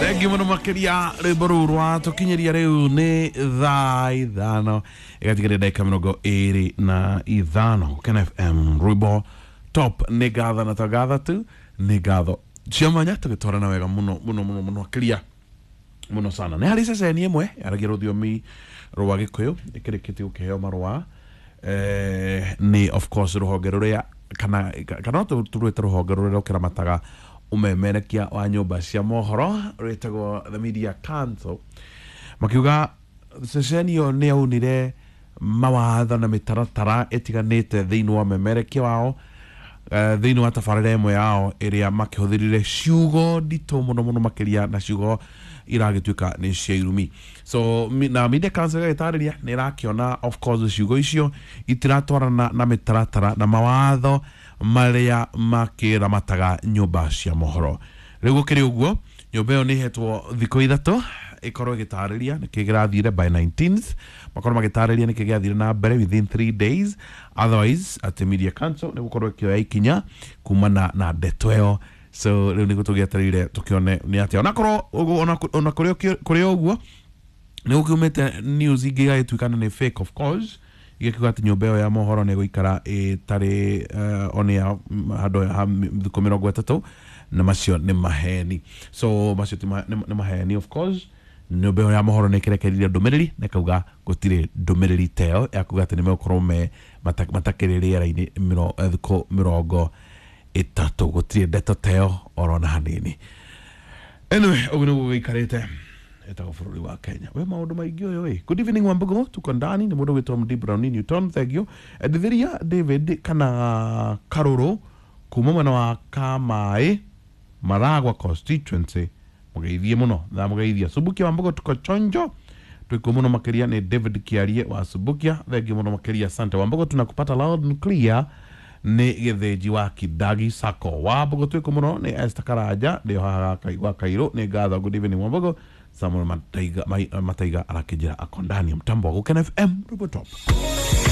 Thengiå må no makä rwä rå rwa tå kinyä rä u nä thaa 5 ĩgatigaria ndagä ka 25 Ken FM rwĩmbo top. Nä ngatho na to ngatho tu, nä ngatho cia mwanya. Tå gä twarana wega må no må no må no må no makä muno sana. Nä harä ceceni ĩmwe yaragia rũthiomi rwa Gĩkũyũ ĩkĩrĩkĩtie gũkĩheo marũa nĩ of course rũhonge rũrĩa kana no tũrwĩte rũhonge rũrĩa rũkĩramataga ũmemerekia wa nyũmba cia mohoro rwĩtagwo The Media Council, makiuga ceceni ĩyo nĩ yaunire mawatho na mĩtaratara ĩtiganĩte thĩinĩ wa ũmemerekia wao, thĩinĩ wa tabarĩra ĩmwe yao ĩrĩa makĩhũthĩrire ciugo nditũ mũno mũno makĩria na ciugo iragĩtuĩka nĩ cia irumi. So na Media Council ĩgagĩtarĩria nĩ ĩrakĩona of course ciugo icio itiratwarana na mĩtaratara na mawatho marĩa makĩramataga nyũmba cia mohoro. Rĩu gũkĩrĩ ũguo, nyũmba ĩyo nĩ ĩhetwo thikũ 3 ĩkorwo ĩgĩtarĩria nĩkĩ kĩrathire. By 19th makorwo magĩtarĩria nĩkĩ gĩathire na mbere within 3 days, otherwise atĩ Media Council nĩ gũkorwo ĩkĩoya ikinya kumana na ndeto ĩyo. So rĩu nĩguo tũgĩetereire tũkĩone nĩ atĩa. Onakorwo ona kũrĩ ũguo nĩ gũkiumĩte news ingĩ igagĩtuĩka nĩ fake, of course, igĩkiuga atĩ nyũmba ĩyo ya mohoro nĩ ĩgũikara ĩtarĩ on air handũ ha thikũ 30, na macio nĩ maheni. So macio ti nĩ maheni. Of course nyũmba ĩyo ya mohoro nĩ ĩkĩrekereirie ndũmĩrĩri na ĩkauga gũtirĩ ndũmĩrĩri ta ĩyo ya kuga atĩ nĩ megũkorwo me matakĩrĩ rĩera-inĩ thikũ 30. Gũtirĩ ndeto ta ĩyo oro na hanini. Anyway, ũguo nĩguo gũikarĩte. Ĩtagwo bũrũri wa Kenya we maũndũ maingĩ ũyũ ĩ. Good evening Wambugu, tuko ndani. Nĩ mũndũ gwĩtwo Md Brown Newton, thank you. Endithiria David kana Karũrũ kuma mwena wa Kamaĩ, Maragwa constituency, mũgeithie mũno, ndamũgeithia. Subukia Wambugu, tuko chonjo, twiko mũno makĩria. Nĩ David Kiarie wa Subukia, thank you mũno makĩria, asante. Wambugu, tunakupata loud and clear. Nĩ Gĩthĩnji wa Kidagi Sacco. Wambugu, twiko mũno. Nĩ Esther Karanja, ndĩo haha wa Kairũ, nĩ ngatho. Good evening Wambugu. Samuel Mataiga, Mataiga arakĩnjĩra ako ndani ya mtambo wa Gũkena FM, Rwĩmbo Top.